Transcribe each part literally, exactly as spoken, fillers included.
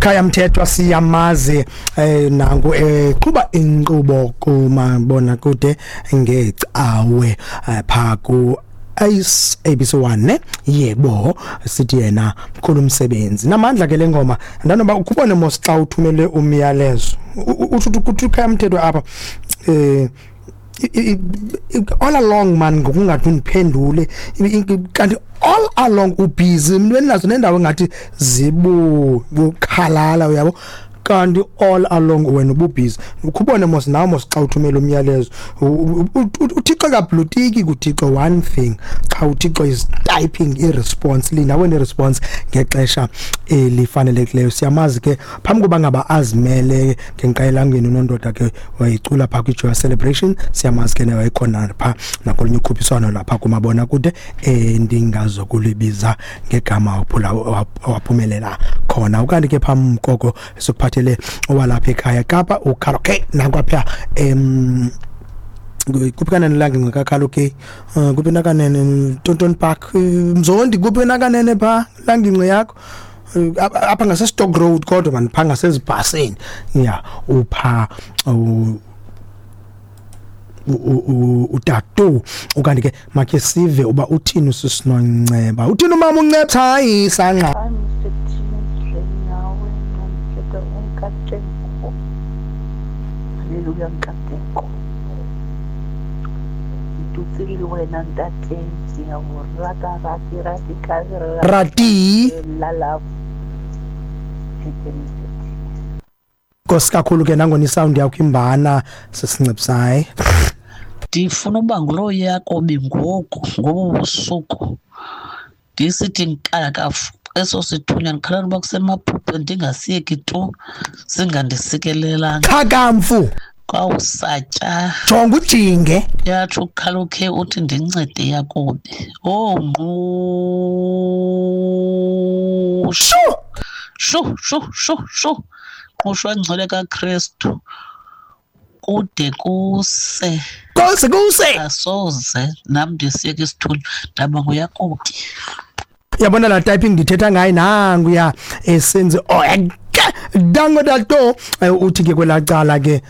Khaya Mthethwa siyamazi eh nangu eqhuba inkqubo kumabona kude ngecawe pha ku S A B C one ne yebo sithi yena mkhulu umsebenzi namandla ke lengoma ndanoba ukubone mos xa uthumele umyalezo uthi uthi Khaya Mthethwa apha eh all along man ngokungathi undiphendule kanti all along ubusy mntweni nendawo engathi zibu bukhalala uyabo kanti all along wena ububusy ukubone mos nawe mos xa uthumela umyalezo uThixo kablutiki kuThixo one thing xa uThixo is typing i response linda wena response ngexesha elifanelekileyo. Siyamazi ke phambi kuba ngaba azimele ngenqayelangeni unondoda ke wayicula pha kwi Joy Celebration, siyamazi ke naye wayekhona pha nakolunye ukhuphiswano lapha kumabona kude endingazokulibiza ngegama waphula waphumelela khona. Ukanti ke phambi koko sikuphathele owalapha ekhaya Kapa uKaraoke nakwapha em kuphi kanene lange ngakakaloke kuphi nakanene Tonton Park Mzondi kuphi nakanene pha langingqi yakho apha ngase Stock Road kodwa man pha ngasezibhasini ya upha utatu. Ukanti ke makhe sive uba uthini usisinonceba uthini umama unceba hayi sanqa Hallelujah Nkateko Ntutsile wena ntate siyawurata rati rati kazi rati la la Nkosi kakhulu ke nangona isound yakho imbana sisincipsayi. Ndifuna uba ngulo Yakobi ngoku ngobu busuku ndisithi nkakafu eso sithunywa ndikhalela uba kusemaphupheni ndingasiyeki tu singandisikelelanga Khakamfu kwawusatya jonga ujinge yatsho ukhalokhe uthi ndincede Yakobi oh ngqushu shu shu shu shu ngqushwa ngcwele kaKristu kude kuse kuse kuse asoze nam ndisiyeke isithunywa ndaba nguYakobi. Yabona la typing ndithetha ngayo nangu ya esenze oh dango dato uthi ke kwelacala ke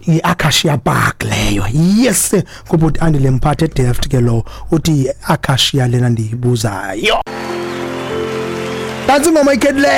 iAcacia Park leyo yes kubuti Andile Mphathe Delft ke lo uthi iAcacia lena ndiyibuzayo. That's ingoma iCadillac.